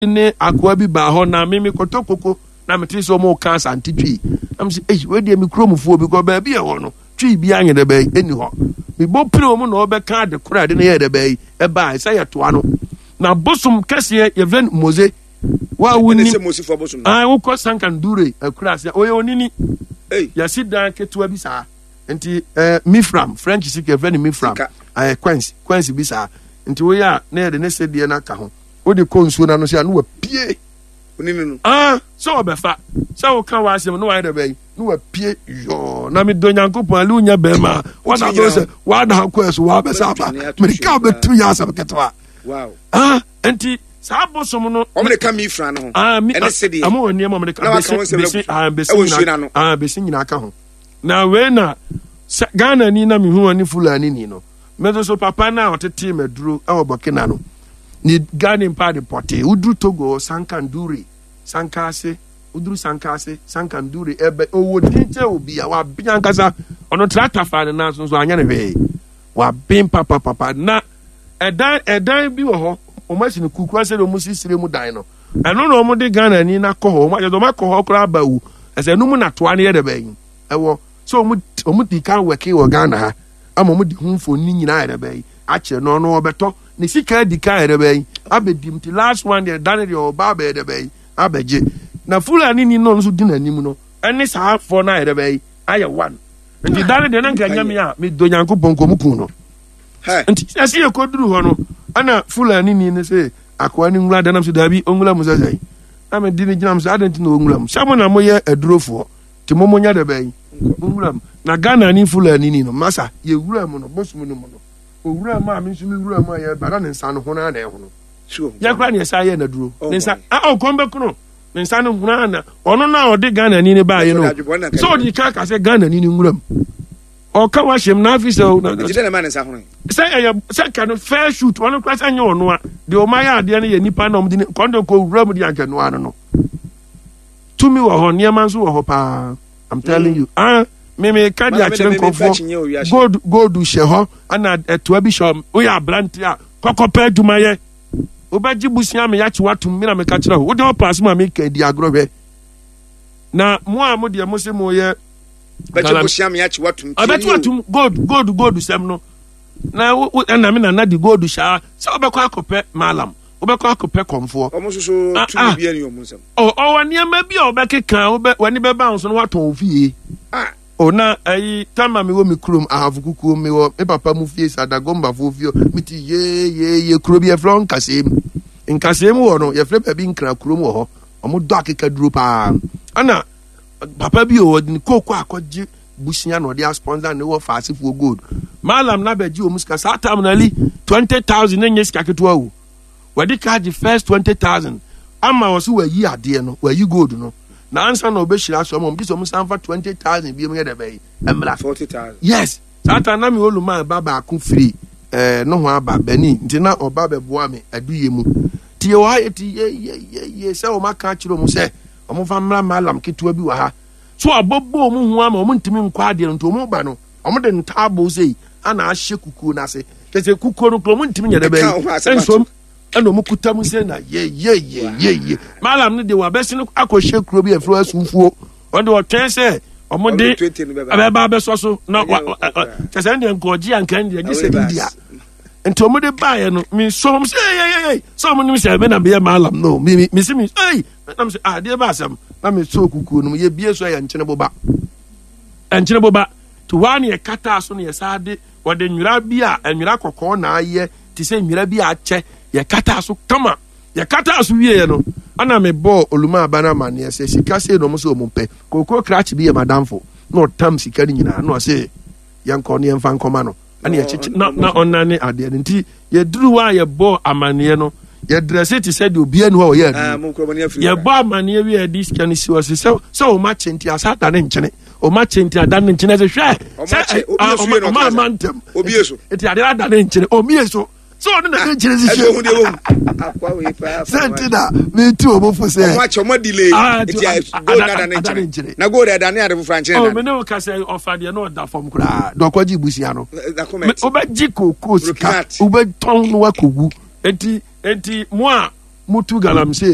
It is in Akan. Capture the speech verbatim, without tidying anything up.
Ne akoa bi baa hɔ na me mekɔtɔ koko na mete sɛ ɔmo ka Asante Twi na mese, ei, wei deɛ me kuromfoɔ bi kɔ baabi a ɛwɔ no Twi bi anyɛ dɛ bɛyi ɛni hɔ. Mebɔ pire ɔmo na ɔbɛka ade korɔ ade no yɛ dɛ bɛyi ɛbaa sɛ yɛtoa no na bosom kɛseɛ yɛfrɛ no Mose wa woni wokɔ Sankandure akura ase ɔyɛ onini yɛsi dan ketewa bi saa nti eh, mifram French sika yɛfrɛ no mifram ɛyɛ coins coins bi saa nti woyɛ a na yɛde ne sedeɛ no aka ho, wode kɔ nsuo no ano sɛ a na wapue. Onini no. Ah, sɛ ɔbɛfa sɛ woka w'asɛm na wayɛ dɛ bɛyi na wapue yɔɔ. Na medɔ Nyankopɔn ale wonya bɛrima a wada bɛ sɛ wada akɔ ɛso wabɛsɛ aba mereka wobɛtu yɛ asɛm ketewa. Ah, nti saa bosom no wɔn de ka mi fira no ho. Ah, mi ɛne sedeɛ ɛmo wɔ nneɛma wɔn de ka bɛsi bɛsi ah bɛsi nyina ah bɛsi nyina ka ho. Na wei na sɛ Ghana ni na mehu ne Fulani ni no. Me nso so papa no a ɔtetee m'aduro wɔ Burkina no, ne Ghana mpa de pɔtee. Woduru Togo hɔ, Sankandure, Sankase, woduru Sankase, Sankandure, ɛbɛ ɔwɔ din kyɛ obi a waben ankasa. Ɔno tractor faa ne nan so nso anyɛ ne hwee. Waben papapapa. Na ɛdan ɛdan bi wɔ hɔ, wɔn asi no kukura sɛ wɔn si sire mu dan no. Ɛno na wɔn de Ghana ni na kɔ hɔ. Wɔn akyɛ sɛ wɔn akɔ hɔ koraa aba wu. Ɛsɛ ɛno mu na toa no yɛ dɛ bɛn ɛwɔ. So wɔn wɔn di kan wɛke wɔ Ghana ha. Ama wɔn de ho mfoni nyinaa yɛrɛ bɛyi akyerɛ no, ɔno ɔbɛtɔ ne sika adi kan yɛrɛ bɛyi abɛdi mu ti last one deɛ dane deɛ ɔba abɛyɛ dɛ bɛyi abɛgye na Fulani ni no nso di n'anim no ɛne saa afɔ no ayɛrɛ bɛyi ayɛ one nti dane deɛ na nka nyame a medɔ Nyankopɔn kɔm kun no nti ɛsɛ yɛ kɔduru hɔ no ɛna Fulani ni no sɛ akoa no nwura danam sɛ daabi ɔnwura mu sɛ sɛ na mede ne gyina m sɛ adɛn nti na ɔnwura mu sɛ mo na moyɛ adurofoɔ nti mo mo nyɛ dɛ bɛn mo wura mu na Ghana ni Fulani ni no masa yɛ wura mu no bosom no mu no owura mu a me nso me wura mu a yɛ ba na ne nsa no ho na na ɛhono yɛ kora ne ɛsa yɛ naduro ne nsa a ɔkɔm bɛkono ne nsa no ho na ɔno na ɔde Ghana ni ne baayɛ no sɛ ɔde ka ka sɛ Ghana ni ne nwura mu ɔka wahyɛm na afi sɛ sɛ ɛyɛ sɛ ka no fair shoot ɔno kora sɛ nyɛ ɔno a deɛ ɔma yɛ adeɛ no yɛ nipa na ɔmde ne kɔndɔ kɔ wura mu de anka noa no no Tumi wɔ hɔ, nneɛma nso wɔ hɔ paa. I'm telling mm. you. Ah, me me ka de akyerɛ nkurɔfoɔ. Gold gold hyɛ hɔ, ɛna ɛtoa bi hyɛ hɔ. Woyɛ aberante a kɔkɔpɛ adwumayɛ. Wobɛgye busua me yakye watom me na meka kyerɛ wo. Wode ɔpa asɛm a meka di agorɔ hwɛ. Na mo a mo deɛ mo se mo yɛ. Bɛgye busua me yakye watom. Ɛbɛkye watom gold gold gold sɛm no. Na wo ɛna me nana de gold hyɛ sɛ wobɛkɔ akɔpɛ malam. Wobɛkɔ akɔpɛ kɔmfoɔ. Wɔn nso so ah, tumi ah. bi ani wɔn nsam. Ɔwɔ nneɛma bi a ɔbɛkeka wobɛ w'ani bɛba ho so na watɔn wo fie. Ah. O na ayi tama mi wɔ mi kurom Ahafo kukuo mi wɔ mi papa mu fie Sadagombafoɔ fie mi ti yee yee kuro bi yɛfrɛ hɔ Nkaseem. Nkaseem wɔ no yɛfrɛ baabi Nkran kurom wɔ hɔ. Wɔn dɔ akekaduro paa. Ɛna papa bi wɔ ne kooko akɔgye busia na ɔde asponsor ne wɔ faasefoɔ gold. Malam na bɛgye wɔn sika saa tam na ali twenty thousand ne nye sika ketewa o. Wɔde ka gye first twenty thousand ama wɔ so wɔayi adeɛ no wɔayi gold no na ansa na ɔbɛhyira so ama wɔn gye sɛ wɔn san fa twenty thousand bi mu yɛ dɛ bɛyi mmra. Forty thousand. Yes, saa ta na mi oluman ba baako firi ɛɛ no ho aba Benin nti na ɔba bɛboa mi aduyɛ mu ti yɛ wɔ ha yɛ ti yɛ yɛ yɛ yɛ sɛ wɔn aka akyerɛ wɔn sɛ wɔn fa mmra malam ketewa bi wɔ ha so abɔbɔ wɔn ho ama wɔn ntumi nkɔ adeɛ no nti wɔn ba no wɔn de ntaaboo sei ana ahyɛ kukuo n'ase kyerɛ sɛ kukuo no kuro wɔn ntumi nyɛ dɛ bɛyi nsom ɛna wɔn kuta mu sɛ na yɛ yɛ yɛ yɛ yɛ malam no de wabɛsi no akɔhyɛ kuro bi ɛfiri asufuo wɔn de ɔtwɛn sɛ wɔn de ɛbɛba abɛsɔ so na wa kyerɛ sɛ ɛndeɛ nkɔgye anka ɛndeɛ gye sɛ India nti wɔn de baayɛ no mi nso wɔn sɛ ɛyɛ yɛ yɛ sɛ wɔn nim sɛ ɛmɛ na mi yɛ malam no mi mi mi si mi ɛyi na mi sɛ adeɛ ba asɛm na mi so kukuo no mu yɛ bie so ɛyɛ nkyɛn boba nkyɛn boba te hɔ a na yɛkataa so na yɛsan de wɔde nwera bi a nwera kɔkɔɔ na ayɛ te sɛ nwera bi a akyɛ yɛkataa so kama. Yɛkataa so wieɛ no ana mebɔɔ oluma aba no amanneɛ sɛ sika sei na ɔmo sɛ ɔmo pɛ. Kookoo krakye bi yɛ madamfo na ɔtam sika no nyinaa na ɔse yɛnkɔ ne yɛmfa nkɔma no ɛna yɛkyekye na na ɔnane adeɛ no nti yɛduru hɔ a yɛbɔɔ amanneɛ no yɛdrɛse te sɛ deɛ obiara ni hɔ a ɔyɛ aduro. Yɛbɔ amanneɛ wie a yɛde sika no si hɔ sɛ sɛ sɛ ɔma kye nti asa ada ne nkyene ɔma kye nti ada ne nkyene sɛ hwɛ sɛ ɔma ama ntɛm nti adeɛ ada ne nkyene ɔmie so sɛ ɔno na ne nkyene si hwɛ sɛ nti na meti ɔmo fo sɛ ɔmo akyɛ ɔmo delay nti gold na ada ne nkyene na gold ɛda ne ade foforɔ ankyene da. Ɔmo ne wo ka sɛ ɔfa deɛ na ɔda fam koraa dɔkɔ gye busia no wobɛgye kookoo sika wobɛtɔn no wakɔwu. Enti enti mo a Mutu galamsey.